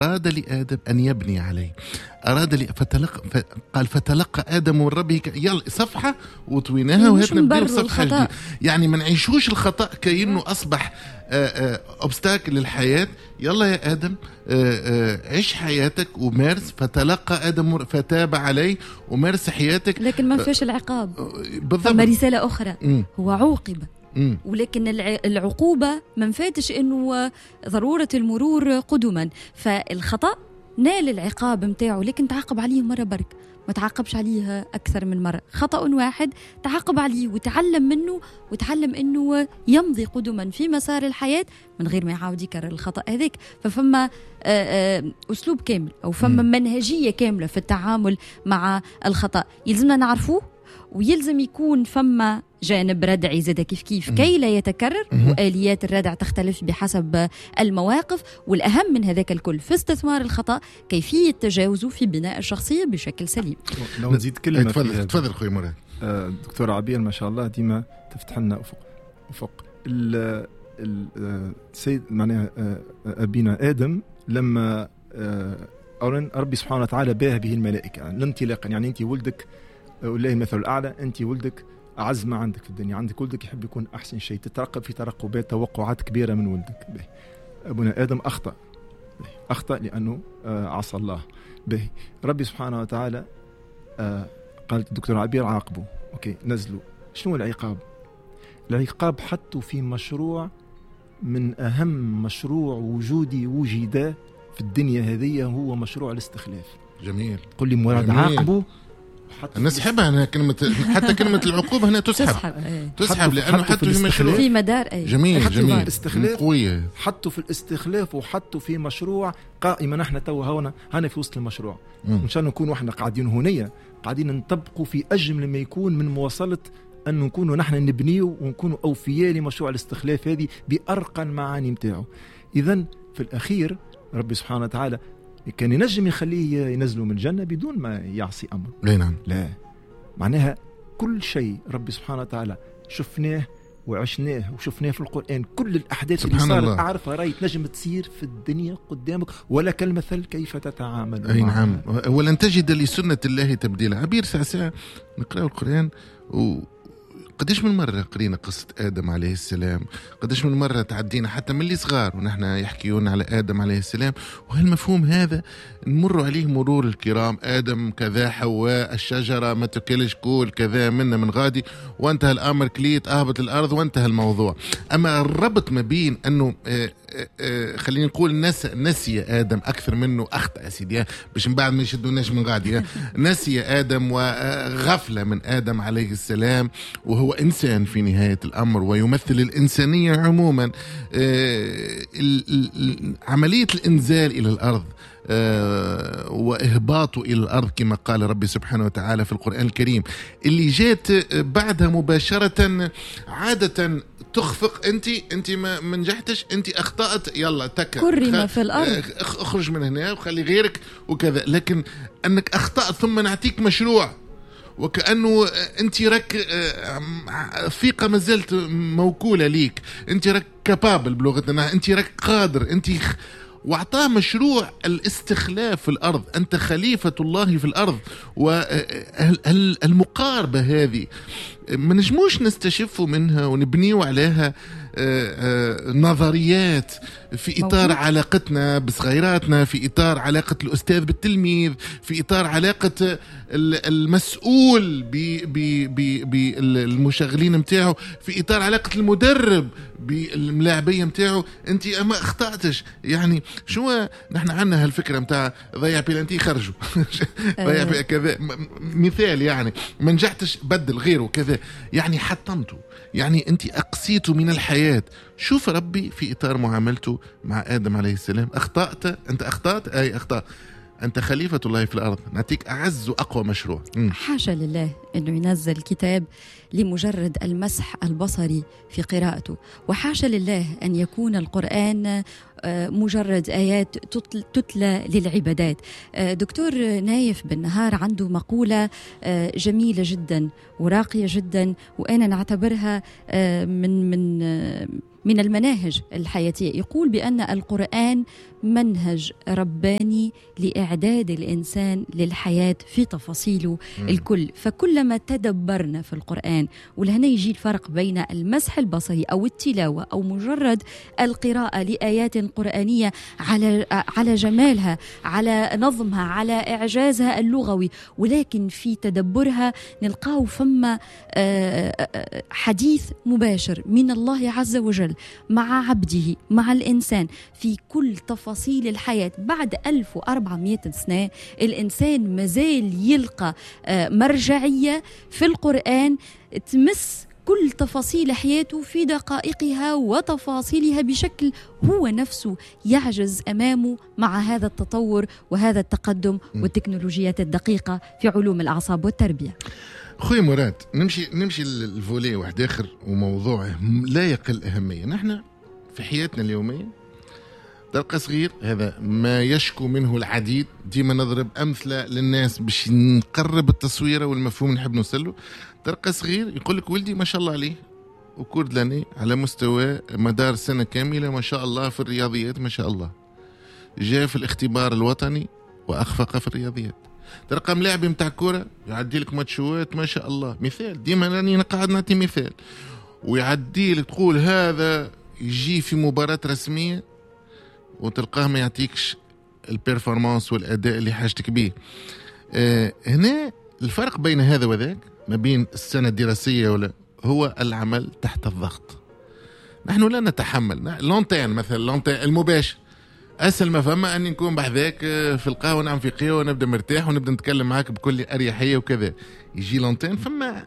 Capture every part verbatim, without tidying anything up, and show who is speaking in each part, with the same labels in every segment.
Speaker 1: أراد لآدم أن يبني عليه، أراد لي فتلقى، قال فتلقى آدم من ربه. يلا صفحة وطويناها وهات نبداو صفحة جديدة. يعني ما نعيشوش الخطأ كأنه أصبح obstacle للحياة. يلا يا آدم عيش حياتك ومارس. فتلقى آدم فتاب عليه ومارس حياتك،
Speaker 2: لكن ما فيش العقاب. بالضبط. فما رسالة أخرى. م. هو عوقب، ولكن العقوبة ما فاتش انه ضرورة المرور قدما. فالخطأ نال العقاب متاعه، لكن تعاقب عليه مرة برك، ما تعاقبش عليه أكثر من مرة. خطأ واحد تعاقب عليه وتعلم منه، وتعلم أنه يمضي قدما في مسار الحياة من غير ما يعاود يكرر الخطأ هذاك. ففما أسلوب كامل أو فما منهجية كاملة في التعامل مع الخطأ يلزمنا نعرفوه، ويلزم يكون فما جانب ردعي زاد كيف كيف كي لا يتكرر. وآليات الردع تختلف بحسب المواقف، والأهم من هذاك الكل في استثمار الخطأ كيفية تجاوزه في بناء الشخصية بشكل سليم.
Speaker 3: لو نزيد كلمة.
Speaker 1: تفضل تفضل خويا مراد.
Speaker 3: دكتور عبير ما شاء الله ديما تفتح لنا أفق أفق. السيد معناها أبينا آدم لما أولا ربي سبحانه وتعالى باه به الملائكة الانطلاقا، يعني أنت ولدك والله المثل الأعلى، أنت ولدك أعز ما عندك في الدنيا، عندك ولدك يحب يكون أحسن شيء، تترقب في ترقبات توقعات كبيرة من ولدك. به. أبونا آدم أخطأ، به. أخطأ لأنه عصى الله. به. ربي سبحانه وتعالى قالت الدكتور عبير عاقبه، أوكي نزلوا. شنو العقاب؟ العقاب حطوا في مشروع من أهم مشروع وجودي وجد في الدنيا هذه، هو مشروع الاستخلاف.
Speaker 1: جميل.
Speaker 3: قل لي مراد عاقبه.
Speaker 1: نسحبها هنا كلمة، حتى كلمة العقوبة هنا تسحب تسحب, تسحب لأنه حطوا في مشروع
Speaker 2: في مدار. أي.
Speaker 1: جميل جميل.
Speaker 3: الاستخلاف قوية. حطوا في الاستخلاف وحطوا في مشروع قائمة. نحن تو هنا هنا في وسط المشروع. إن شاء الله نكون واحنا قاعدين هنية قاعدين نطبقوا في أجمل ما يكون من مواصلة أن نكونوا نحن نبنيه ونكونوا أوفياء لمشروع الاستخلاف هذه بأرقى المعاني متاعه. إذن في الأخير ربي سبحانه وتعالى كان ينجم يخليه ينزله من الجنة بدون ما يعصي أمره.
Speaker 1: لا نعم.
Speaker 3: لا معناها كل شيء ربي سبحانه وتعالى شفناه وعشناه وشفناه في القرآن، كل الأحداث اللي صارت أعرفها رأي تنجم تصير في الدنيا قدامك، ولك المثل كيف تتعامل.
Speaker 1: أي نعم. ولن تجد لسنة الله تبديلا. عبير ساعة ساعة نقرأ القرآن و قديش من مرة قرينا قصة آدم عليه السلام، قديش من مرة تعدينا حتى من اللي صغار ونحن يحكيون على آدم عليه السلام، وهالمفهوم هذا نمر عليه مرور الكرام. آدم كذا، حواء، الشجرة ما تاكلش، كول كذا، منا من غادي، وانتهى الأمر، كليت أهبط الأرض وانتهى الموضوع. أما الربط ما بين أنه آآ آآ خلينا نقول نس نسي آدم أكثر منه أخطأ يا سيدي، باش من بعد ما يشدوناش من غادي، نسي آدم وغفلة من آدم عليه السلام، وهو إنسان في نهاية الأمر ويمثل الإنسانية عموما. عملية الإنزال إلى الأرض وإهباطه إلى الأرض كما قال ربي سبحانه وتعالى في القرآن الكريم، اللي جات بعدها مباشرة عادة تخفق، أنت أنت ما نجحتش، أنت أخطأت، يلا تك
Speaker 2: كرم في الأرض،
Speaker 1: اخرج من هنا وخلي غيرك وكذا. لكن أنك أخطأت ثم نعطيك مشروع، وكأنه أنت راك ثقة ما زالت موكولة ليك، أنت راك capable بلغتنا، أنت راك قادر، أنت واعطاه مشروع الاستخلاف في الأرض، أنت خليفة الله في الأرض. والمقاربة هذه ما نجموش نستشف منها ونبنيو عليها نظريات في إطار علاقتنا بصغيراتنا، في إطار علاقة الأستاذ بالتلميذ، في إطار علاقة المسؤول بالمشغلين متاعه، في إطار علاقة المدرب بالملاعبية متاعه. أنت أما أخطأتش، يعني شو نحن عندنا هالفكرة متاع ضيع بيلانتي خرجوا ضيع كذا مثال، يعني ما نجحتش بدل غيره كذا، يعني حطمته، يعني أنت أقصيته من الحياة. شوف ربي في إطار معاملته مع آدم عليه السلام، أخطأت أنت، أخطأت أي أخطأ، أنت خليفة الله في الأرض، نعطيك أعز وأقوى مشروع.
Speaker 2: حاشا لله أنه ينزل كتاب لمجرد المسح البصري في قراءته، وحاشا لله أن يكون القرآن مجرد آيات تتلى للعبادات. دكتور نايف بالنهار عنده مقولة جميلة جدا وراقية جدا، وأنا نعتبرها من من من المناهج الحياتية. يقول بأن القرآن منهج رباني لإعداد الإنسان للحياة في تفاصيله الكل. فكلما تدبرنا في القرآن، ولهنا يجي الفرق بين المسح البصري أو التلاوة أو مجرد القراءة لآيات قرآنية على على جمالها، على نظمها، على إعجازها اللغوي، ولكن في تدبرها نلقاو فما حديث مباشر من الله عز وجل مع عبده، مع الإنسان في كل تفاصيل الحياة. بعد ألف وأربعمائة سنة الإنسان مازال يلقى مرجعية في القرآن تمس كل تفاصيل حياته في دقائقها وتفاصيلها بشكل هو نفسه يعجز أمامه مع هذا التطور وهذا التقدم والتكنولوجيات الدقيقة في علوم الأعصاب والتربية.
Speaker 1: خويا مراد، نمشي نمشي لل volet واحد آخر وموضوع لا يقل أهمية. نحن في حياتنا اليومية تلقى صغير، هذا ما يشكو منه العديد، ديما نضرب أمثلة للناس باش نقرب التصويرة والمفهوم نحب نوصله. تلقى صغير يقول لك ولدي ما شاء الله عليه au cours de l'année على مستوى مدار سنة كاملة ما شاء الله في الرياضيات ما شاء الله، جاء في الاختبار الوطني وأخفق في الرياضيات. تلقى ملاعب متاع كورة يعدي لك ماتشوات ما شاء الله، مثال ديما راني قاعد نعطي مثال، ويعدي لك تقول هذا يجي في مباراة رسمية وتلقاه ما يعطيكش ال performance والأداء اللي حاجتك بيه. آه هنا الفرق بين هذا وذاك ما بين السنة الدراسية ولا هو العمل تحت الضغط. نحن لا نتحمل l'antenne مثلا، l'antenne المباشر أسهل ما فما أني نكون بحذاك في القهوة نعم في قهوة ونبدأ مرتاح ونبدأ نتكلم معاك بكل أريحية وكذا. يجي l'antenne فما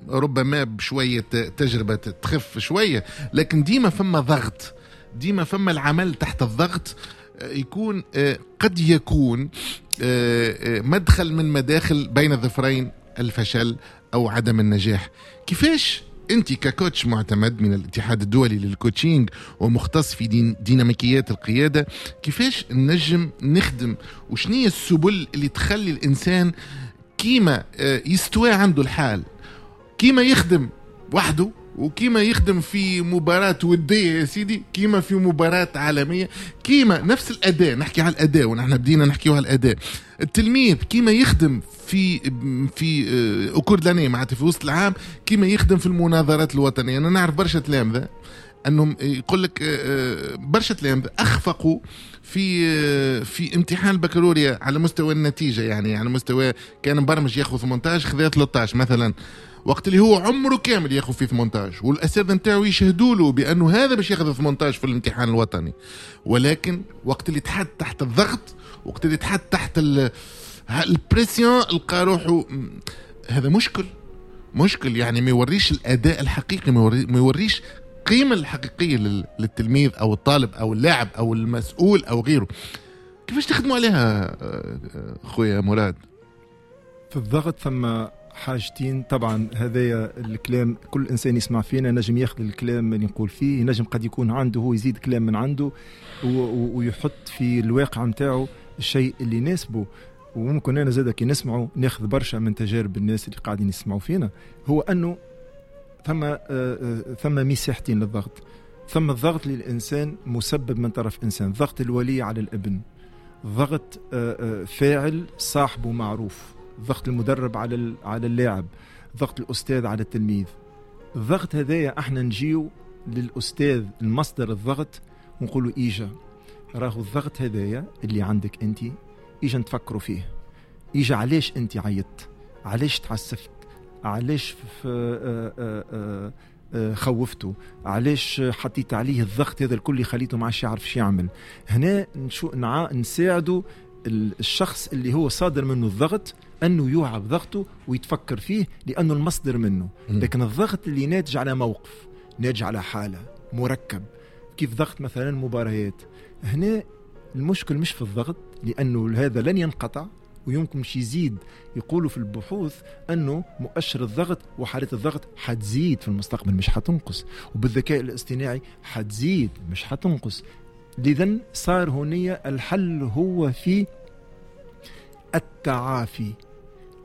Speaker 1: ربما بشوية تجربة تخف شوية، لكن ديما فما ضغط، ديما فما العمل تحت الضغط يكون قد يكون مدخل من مداخل بين الظفرين الفشل أو عدم النجاح. كيفاش أنت ك coach معتمد من الاتحاد الدولي لل coaching ومختص في دين ديناميكيات القيادة، كيفاش نجم نخدم وشنية السبل اللي تخلي الإنسان كيما يستوى عنده الحال، كيما يخدم وحده وكيما يخدم في مباراة ودية يا سيدي، كيما في مباراة عالمية، كيما نفس الأداء، نحكي على الأداء ونحن بدينا نحكي على الأداء، التلميذ كيما يخدم في في au cours de l'année معناتها في وسط العام، كيما يخدم في المناظرات الوطنية. أنا نعرف برشا تلامذة أنهم يقول لك برشا تلامذة أخفقوا في في امتحان البكالوريا على مستوى النتيجة، يعني على مستوى كان مبرمج ياخذ ثمانية عشر خذا ثلاثة عشر مثلا، وقت اللي هو عمره كامل ياخذ فيه ثمانية عشر والاساتذه نتاعو يشهدوا له بانه هذا باش ياخذ ثمانية عشر في الامتحان الوطني، ولكن وقت اللي تحط تحت الضغط، وقت اللي تحط تحت ال pression لقى روحه هذا مشكل مشكل يعني ما يوريش الاداء الحقيقي، ما يوريش القيمة الحقيقية للتلميذ او الطالب او اللاعب او المسؤول او غيره. كيفاش تخدموا عليها خويا مراد؟
Speaker 3: في الضغط ثم حاجتين طبعا. هذايا الكلام كل انسان يسمع فينا نجم ياخذ الكلام اللي نقول فيه، نجم قد يكون عنده هو يزيد كلام من عنده ويحط في الواقع نتاعو الشيء اللي يناسبه، وممكن انا زاده كي نسمعه ناخذ برشا من تجارب الناس اللي قاعدين يسمعوا فينا. هو انه ثم ثم مساحتين للضغط. ثم الضغط للانسان مسبب من طرف انسان، ضغط الولي على الابن، ضغط فاعل صاحبه معروف، ضغط المدرب على على اللاعب، ضغط الأستاذ على التلميذ. الضغط هذايا احنا نجيو للأستاذ المصدر الضغط ونقولوا إيجا راهو الضغط هذايا اللي عندك أنت، إيجا نتفكروا فيه، إيجا علاش أنت عيطت، علاش تعسفت، علاش خوفته، علاش حطيت عليه الضغط هذا الكل خليته ما عادش يعرف شو يعمل. هنا نشو نع... نساعده الشخص اللي هو صادر منه الضغط أنه يوعى بضغطه ويتفكر فيه لأنه المصدر منه. لكن الضغط اللي ناتج على موقف، ناتج على حالة مركب، كيف ضغط مثلا مباريات، هنا المشكل مش في الضغط لأنه هذا لن ينقطع ويمكن مش يزيد. يقولوا في البحوث أنه مؤشر الضغط وحالة الضغط حتزيد في المستقبل مش حتنقص، وبالذكاء الاصطناعي حتزيد مش حتنقص. لذن صار هنا الحل هو في التعافي،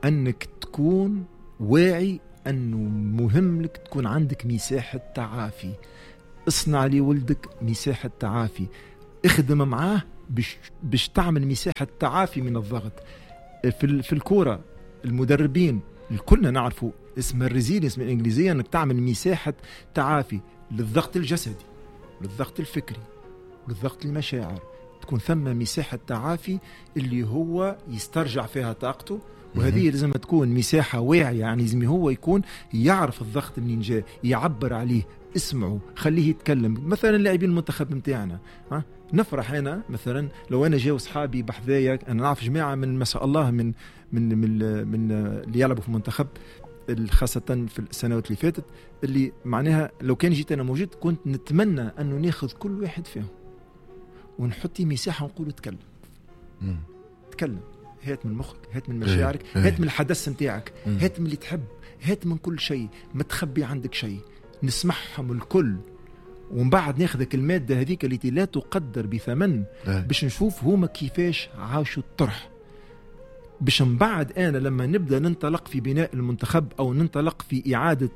Speaker 3: أنك تكون واعي أنه مهم لك تكون عندك مساحة تعافي. اصنع لي ولدك مساحة تعافي، اخدم معاه باش باش تعمل مساحة تعافي من الضغط. في في الكورة المدربين الكلنا نعرفوا اسم ال résilience بالانجليزية، انك تعمل مساحة تعافي للضغط الجسدي، للضغط الفكري، للضغط المشاعر، تكون ثم مساحة تعافي اللي هو يسترجع فيها طاقته. وهذه لازم تكون مساحة واعية، يعني لازم هو يكون يعرف الضغط منين جاء، يعبر عليه، اسمعه، خليه يتكلم. مثلا لاعبين المنتخب نتاعنا، ها نفرح انا مثلا لو انا جاو صحابي بحذايا، انا نعرف جماعة من ما شاء الله من من من, من اللي يلعبوا في المنتخب خاصة في السنوات اللي فاتت، اللي معناها لو كان جيت انا موجود كنت نتمنى انه ناخذ كل واحد فيهم ونحطي مساحة ونقول تكلم، تكلم، هات من مخك، هات من مشاعرك، هات من الحدث نتاعك، هات من اللي تحب، هات من كل شيء، ما تخبي عندك شيء، نسمعهم الكل، ومن بعد ناخذك المادة هذيك التي لا تقدر بثمن باش نشوف هما كيفاش عاشوا الطرح، باش من بعد أنا لما نبدأ ننطلق في بناء المنتخب أو ننطلق في إعادة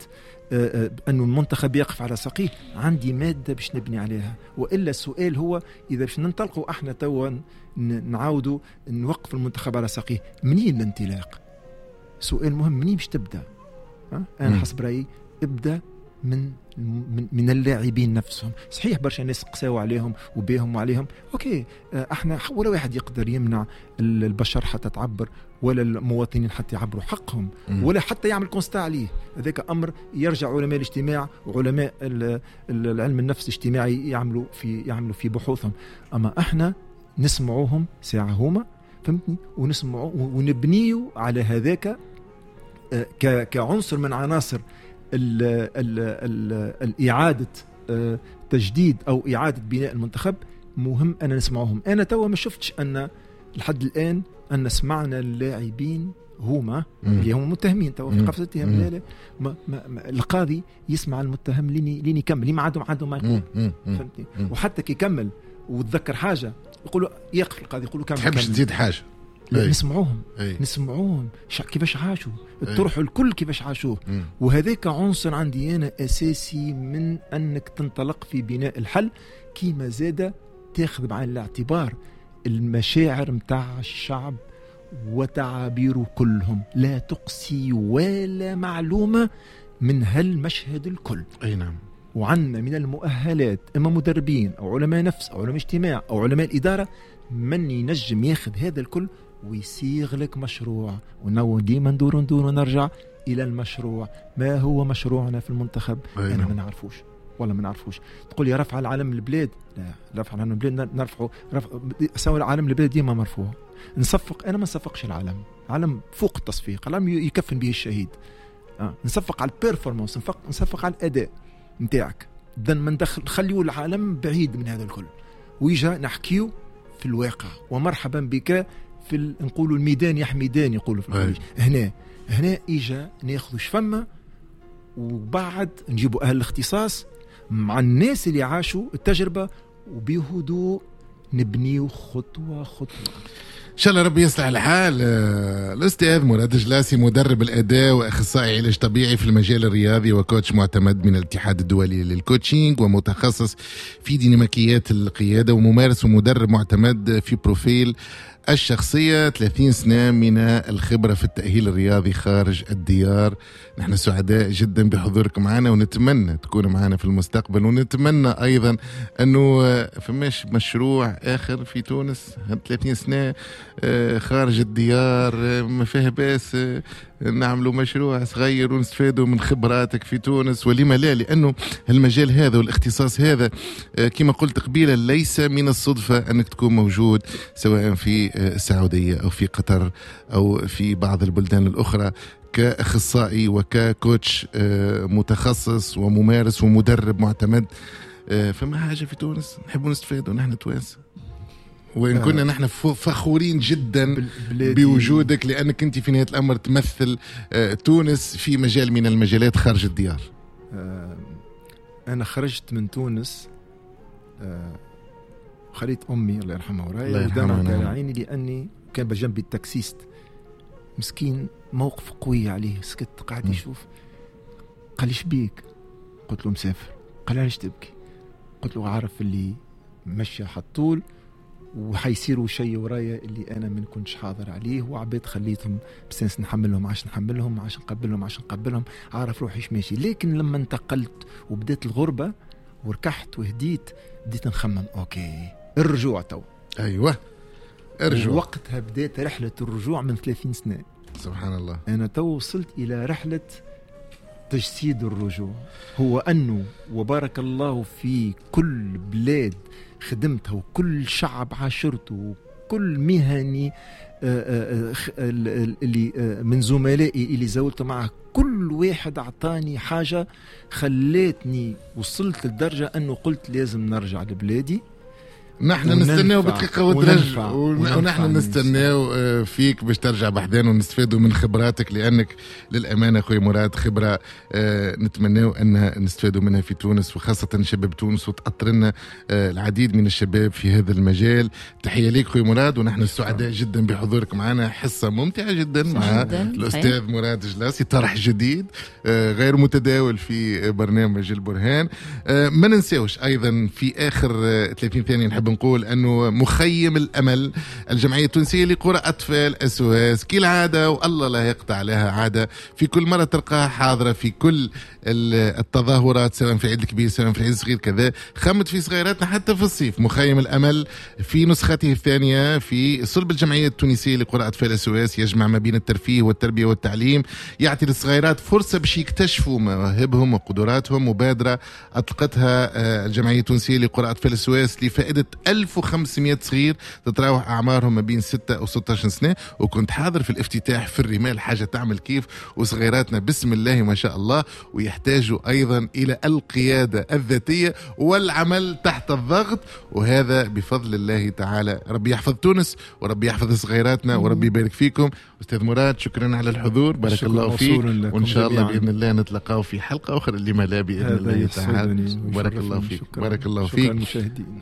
Speaker 3: أنه المنتخب يقف على ساقيه، عندي مادة باش نبني عليها. وإلا السؤال هو إذا باش ننطلقوا احنا توا نعاودوا نوقف المنتخب على ساقيه، منين الانطلاق؟ سؤال مهم، منين باش تبدأ؟ أنا حسب رأيي ابدأ من من, من اللاعبين نفسهم. صحيح برشا ناس قساو عليهم وبيهم وعليهم، OK، احنا ولا واحد يقدر يمنع البشر حتى تعبر، ولا المواطنين حتى يعبروا حقهم، ولا حتى يعمل constat عليه. هذاك امر يرجع علماء الاجتماع وعلماء العلم النفس الاجتماعي يعملوا في يعملوا في بحوثهم. اما احنا نسمعوهم ساعة هما، فهمتني، ونسمعوا ونبنيوا على هذاك كعنصر من عناصر ال ال ال الإعادة تجديد أو إعادة بناء المنتخب. مهم أن نسمعهم. أنا توا ما شفتش أن لحد الآن أن سمعنا اللاعبين هما اللي هم متهمين توا في قفص الاتهام. لا لا، ما ما ما القاضي يسمع المتهم لين لين يكمل، لين ما عندهم عندهم ما يقول، فهمتني. وحتى كي يكمل وتذكر حاجة يقولوا يقف القاضي يقولوا كمل،
Speaker 1: تحبش تزيد حاجة.
Speaker 3: نسمعوهم، نسمعوهم كيفاش عاشوا الطرح الكل، كيفاش عاشوه. وهذاك عنصر عندي أنا أساسي من أنك تنطلق في بناء الحل، كيما زاد تاخذ بعين الاعتبار المشاعر متاع الشعب وتعابيره كلهم، لا تقصي ولا معلومة من هالمشهد الكل.
Speaker 1: أي نعم.
Speaker 3: وعندنا من المؤهلات إما مدربين أو علماء نفس أو علماء اجتماع أو علماء الإدارة من ينجم ياخذ هذا الكل ويصيغ لك مشروع. ونو ديما ندور ندور ونرجع إلى المشروع. ما هو مشروعنا في المنتخب؟ أنا ما نعرفوش، والله ما نعرفوش. تقول يا رفع العلم البلاد، لا، رفع العلم البلاد نرفعه، رفع سوى العلم البلاد ديما مرفوع. نصفق، أنا ما نصفقش العلم، علم فوق التصفيق، العلم يكفن به الشهيد. آه. نصفق على ال performance، نصفق نصفق على الأداء نتاعك. إذن ما ندخل نخليو العالم بعيد من هذا الكل، ويجا نحكيو في الواقع. ومرحبا بك في ال... نقولوا الميدان يا حميدان، يقولوا في الخليج. هنا هنا اجا ناخذ شفمه، وبعد نجيبوا اهل الاختصاص مع الناس اللي عاشوا التجربة، وبهدوء نبنيو خطوة خطوة.
Speaker 1: إن شاء الله ربي يصلح الحال. الأستاذ مراد جلاسي، مدرب الأداء وأخصائي علاج طبيعي في المجال الرياضي و coach معتمد من الاتحاد الدولي لل coaching، ومتخصص في ديناميكيات القيادة، وممارس ومدرب معتمد في profil الشخصية، ثلاثين سنة من الخبرة في التأهيل الرياضي خارج الديار. نحن سعداء جدا بحضورك معنا، ونتمنى تكون معنا في المستقبل، ونتمنى أيضا أنه فماش مشروع آخر في تونس ثلاثين سنة خارج الديار ما فيه باس، نعملوا مشروع صغير ونستفادوا من خبراتك في تونس، ولما لا، لأنه المجال هذا والاختصاص هذا كما قلت قبيلة ليس من الصدفة أنك تكون موجود سواء في السعودية أو في قطر أو في بعض البلدان الأخرى كأخصائي وككوتش متخصص وممارس ومدرب معتمد. فما حاجة في تونس نحب نستفاد ونحن توانسة، وإن آه. كنا نحن فخورين جدا بوجودك، لأنك أنت في نهاية الأمر تمثل تونس في مجال من المجالات خارج الديار.
Speaker 3: آه أنا خرجت من تونس، آه خليت أمي الله يرحمها وراي ودمعت على عيني، لأني كان بجنبي ال taxiste مسكين، موقف قوي عليه، سكت قاعد يشوف، قال لي شبيك؟ قلت له مسافر. قال لي علاش تبكي؟ قلت له عارف اللي مشي حطول وحيصيروا شيء ورايا اللي انا ما كنتش حاضر عليه، وعبيد خليتهم بسنس نحملهم عشان نحملهم عشان نقبلهم عشان نقبلهم، عارف روحي ايش ماشي. لكن لما انتقلت وبدأت الغربة وركحت وهديت، بديت نخمم OK الرجوع تو.
Speaker 1: ايوه ارجع.
Speaker 3: وقتها بدأت رحلة الرجوع من ثلاثين سنة.
Speaker 1: سبحان الله.
Speaker 3: انا تو وصلت الى رحلة تجسيد الرجوع، هو أنه وبارك الله في كل بلاد خدمتها وكل شعب عاشرته وكل مهني اللي من زملائي اللي زولت معه، كل واحد أعطاني حاجة خلتني وصلت للدرجة أنه قلت لازم نرجع لبلادي.
Speaker 1: نحن نستناو بدقيقة وترجع، ونحن نستناو فيك باش ترجع بحذان ونستفادوا من خبراتك، لأنك للأمانة أخوي مراد خبرة نتمناو أنها نستفادوا منها في تونس، وخاصة شباب تونس، وتأطرنا العديد من الشباب في هذا المجال. تحية ليك أخوي مراد، ونحن سعداء جدا بحضورك معنا. حصة ممتعة جدا مع الأستاذ مراد جلاسي، طرح جديد غير متداول في برنامج البرهان. ما ننساوش أيضا في آخر ثلاثين ثانية نحب نقول أنه مخيم الأمل الجمعية التونسية لقرى أطفال SOS كالعادة، والله لا يقطع لها عادة، في كل مرة تلقاها حاضرة في كل التظاهرات، سواء في العيد الكبير سواء في العيد الصغير كذا، خمت في صغيراتنا حتى في الصيف. مخيم الأمل في نسخته الثانية في صلب الجمعية التونسية لقرى أطفال SOS يجمع ما بين الترفيه والتربية والتعليم، يعطي للصغيرات فرصة باش يكتشفوا مواهبهم وقدراتهم. مبادرة أطلقتها الجمعية التونسية لقرى أطفال SOS لفائدة ألف وخمسمائة صغير تتراوح أعمارهم ما بين ستة وستة عشر سنة، وكنت حاضر في الافتتاح في الرمال، حاجة تعمل كيف، وصغيراتنا بسم الله ما شاء الله، ويحتاجوا أيضا إلى القيادة الذاتية والعمل تحت الضغط، وهذا بفضل الله تعالى. ربي يحفظ تونس وربي يحفظ صغيراتنا وربي يبارك فيكم. أستاذ مراد شكرا على الحضور، بارك الله فيك، وإن شاء الله بإذن الله نتلقاو في حلقة أخرى لما لا بإذن الله تعالى. بارك الله فيك، بارك الله فيك،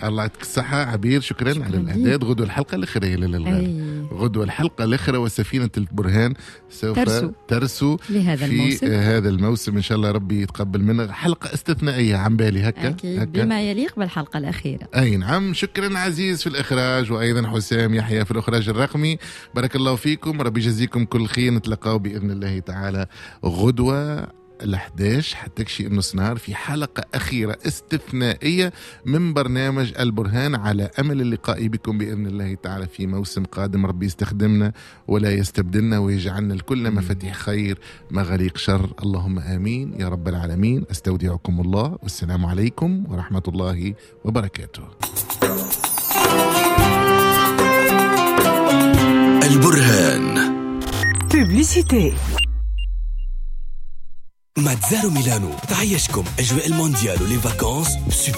Speaker 1: الله يعطيك الصحة. عبير شكرا, شكرا على الإعداد. غدوة الحلقة الأخرى للغالي، غدوة الحلقة الأخرى وسفينة البرهان سوف ترسو, ترسو
Speaker 2: لهذا
Speaker 1: في
Speaker 2: الموسم.
Speaker 1: هذا الموسم إن شاء الله ربي يتقبل منا. حلقة استثنائية عن بالي هكا,
Speaker 2: أكيد
Speaker 1: هكا.
Speaker 2: بما يليق بالحلقة الأخيرة.
Speaker 1: أي نعم. شكرا عزيز في الإخراج، وأيضا حسام يحيى في الإخراج الرقمي. بارك الله فيكم، ربي يجزيكم كل خير. نتلقاو بإذن الله تعالى غدوة الأحداش حتى كشي النص نهار في حلقة أخيرة استثنائية من برنامج البرهان، على أمل اللقاء بكم بإذن الله تعالى في موسم قادم. ربي يستخدمنا ولا يستبدلنا، ويجعلنا الكل مفاتيح خير مغاليق شر. اللهم آمين يا رب العالمين. أستودعكم الله، والسلام عليكم ورحمة الله وبركاته.
Speaker 4: البرهان
Speaker 5: Publicité.
Speaker 4: ماتزارو ميلانو تعيشكم أجواء المونديال و les vacances super.